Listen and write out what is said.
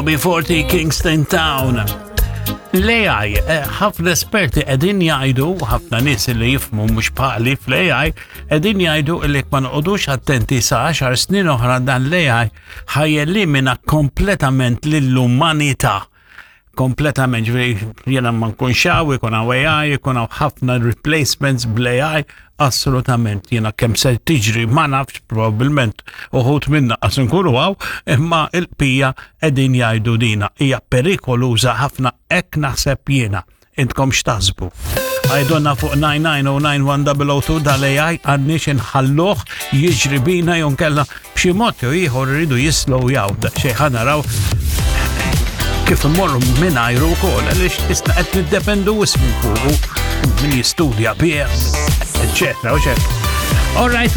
B40 Kingston Town. L-AI, eh, ħafna esperti qegħdin jgħidu, ħafna nies li jifmu mhux bħali fl-AI, qegħdin jgħidu li ma noqogħdux attenti sa 10 snin oħra dan l-AI ħajellimina kompletament lill-umanità kompletament, ġifieri jiena ma nkunx hawn, ikun hawn AI, ikun hawn ħafna replacements bl-AI, assolutament jiena kemm se tiġri ma nafx probabbilment uħud minna qas nkunu hawn, imma il-pija qegħdin jgħidu dina hija perikoluża ħafna hekk naħseb jiena. Intkom x'taħsbu? Għajdonna fuq 9909102 dal-AI għandniex inħalluh jiġri bina jew nkella b'xi mod jew ieħor iridu jislow jaw daqsxejn ħa naraw kif immorru mingħajru wkoll għaliex isna qed niddependu wisq minn fuqu min jistudja bih, eċetera, eċetera. All right.